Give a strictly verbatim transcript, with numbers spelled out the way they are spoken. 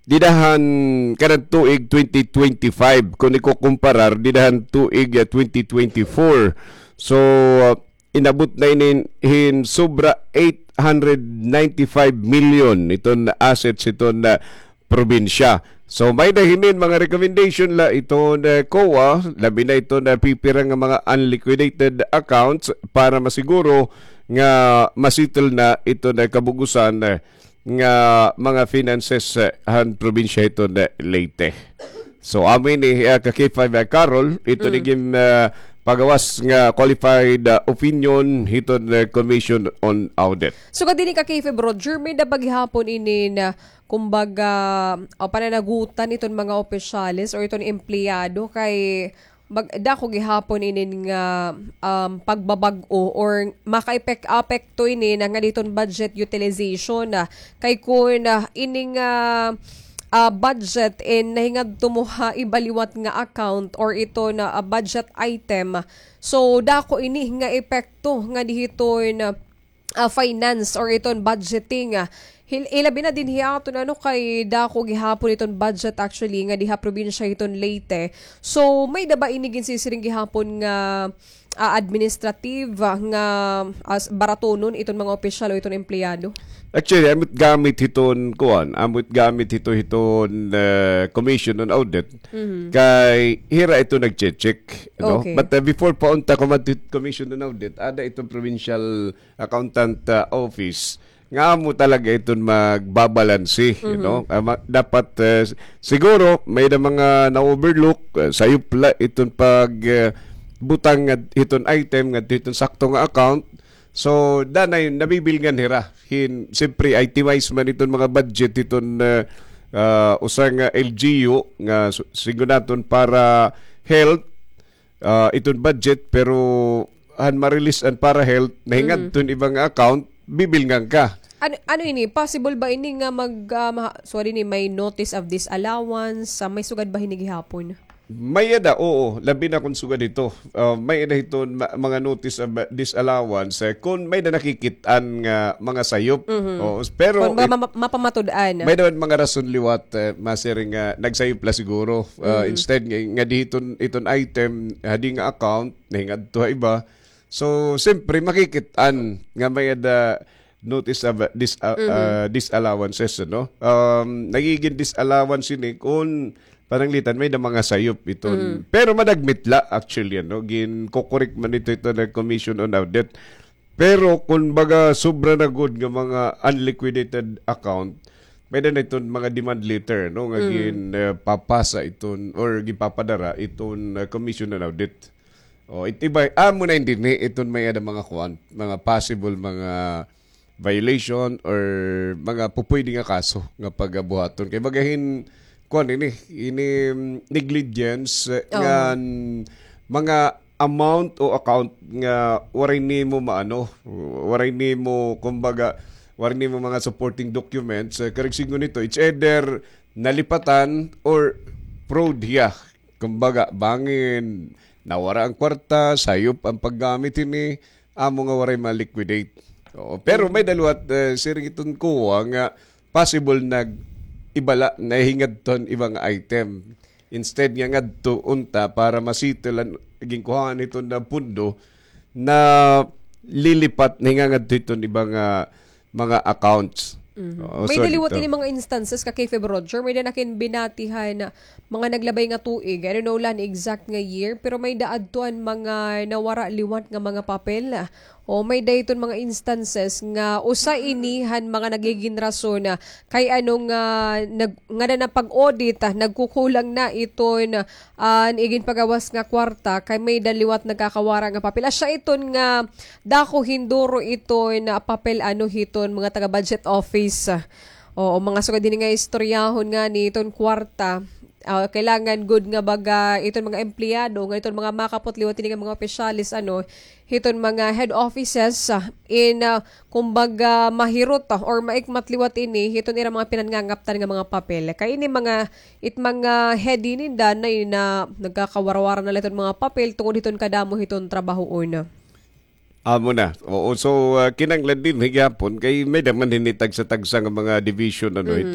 dida han kanan tuig twenty twenty-five, kun ikukumparar dida han tuig, ah, twenty twenty-four. So, ah, inabot na ini hin sobra eight hundred ninety-five million iton assets iton, ah, probinsya. So, may-ada hinin mga recommendation la iton, ah, COA, labi na iton, ah, pipira nga mga unliquidated accounts para masiguro nga masettle na iton, ah, kabug-osan, ah, nga mga finances, ah, han probinsya hiton, ah, Leyte. So, amo ini, ah, ka K five, ah, Carol, ito ni gin, ah, pagawas nga qualified, ah, opinion hiton, ah, Commission on Audit. So, kadini ka K five, Roger, may-ada pa gihapon ini na, kumbaga, o pananagutan iton mga opisyales or iton empleyado kay mag-, dako gihapon inin nga, um, pagbabag-o or makaepek-, apekto ini na nga diton budget utilization, ah, kay kun, ah, ini nga, ah, budget in nahingadto mo ha iba liwat nga account or ito na, ah, budget item. So, dako ini nga epekto nga dihiton, ah, ah, finance or iton budgeting, ah, hil-, ilabi na dinhi aton, ano, kay dako gihapon iton budget actually nga diha probinsya hiton Leyte. So, may-ada ba ini ginsisiring gihapon nga, ah, administrative, ah, nga, ah, baratonon iton mga opisyal o iton empleyado? Actually, amo it gamit hiton kuan, amo it gamit hito hiton, eh, Commission on Audit. Mhm. Kay hira ito nagche-check, no? Okay. But, uh, before pa unta kumadto hit Commission on Audit, ada iton provincial accountant, uh, office nga amo talaga iton magbabalanse, you Mhm. know? Ah, ma-, dapat, uh, s-, siguro may-ada mga na-overlook, uh, sayop la iton pag, uh, butang nga hiton item nga hiton sakto nga account. So, danay nabibilngan hira. Hin, siyempre, itemized man iton mga budget hiton, uh, uh, usa nga L G U nga su-, sigon naton para health, ah, iton budget, pero han ma-release an para health, nahingadto hin iba nga account, bibilngan ka. Ano, ano ini? Possible ba ini nga mag, ah, ma-, sorry ni, may notice of disallowance? Ah, may sugad ba hini gihapon? May-ada, oo. Labi na kun sugad hito. Ah, may-ada hiton ma-, mga notice of, ah, disallowance. Eh, kun may-ada nakikit-an nga mga sayop. Mhm. Oo, pero Kun ba it-, ma-, ma-, mapamatud-an. May-ada man mga rason liwat, eh, masiring nga nagsayop la siguro. Ah, Mhm. instead nga, nga di hiton, iton item, hadi nga account, nahingadto ha iba. So, siyempre, makikit-an nga may-ada notice of, uh, dis-, uh, Mhm. uh, disallowances, no? Um, nagigin disallowance ini kun pananglitan may-ada mga sayop iton. Mhm. Pero madagmit la, actually, ano, ginkokorek man ito, ito na Commission on Audit. Pero kun baga sobra na gud nga mga unliquidated account, may-ada na iton mga demand letter, no, nga Mm. gin, eh, papasa iton or ginpapadara iton, eh, Commission on Audit. O, it-, iba, amo na ini dinhi, iton may-ada mga kuan, mga possible, mga violation or mga pupwede nga kaso nga pagabuhaton. Kay baga hin, kuan ini, ini, mm, negligence, eh, Oo. ngan mga amount o account nga waray nimo maano, waray nimo, kumbaga, waray nimo mga supporting documents, eh, karuyag sidngon nito, it's either nalipatan or fraud hiya. Kumbaga, bangin nawara an kwarta, sayop an paggamit hini, amo nga waray ma-liquidate. Oo, pero may-ada liwat, eh, siring iton COA nga possible nag-iba la, nahingadto han iba nga item. Instead nga ngadto unta para ma-settle an ginkuhaan hiton nga pondo, nalilipat, nahingangadto hiton iba nga mga accounts. Mhm. Oo, may-ada liwat ini mga instances ka K five, Roger, may-ada na ak hin binati han mga naglabay nga tuig. I don't know la an exact nga year, pero may-ada adto an mga nawara liwat nga mga papel. O may-ada iton mga instances nga usa ini han mga nagigin rason, ah, kay ano nga nag-, ngada na pag-audit, ah, nagkukulang na iton, ah, an iginpagawas nga kwarta, kay may-ada liwat nagkakawara nga papel. Asya iton nga dako hin duro iton, ah, papel ano hiton mga taga-budget office. Oo, mga sugad hini nga istoryahon ngani iton kwarta. Ah, kailangan gud nga baga iton mga empleyado, nga iton mga makapot liwat hini nga mga opisyales, ano, hiton mga head offices, ah, in, ah, kumbaga, mahirot, ah, or maikmat liwat ini hiton ira mga pinangangaptan nga mga papel. Kay ini mga, it mga head ini danay na nagkakawarawara na la iton mga papel tungod hiton kadamo hiton trabahoon. Amo na. Oo, so, ah, kinahanglan dinhi gihapon kay may-ada man hini tagsa-tagsa nga mga division, ano, Mhm. ito,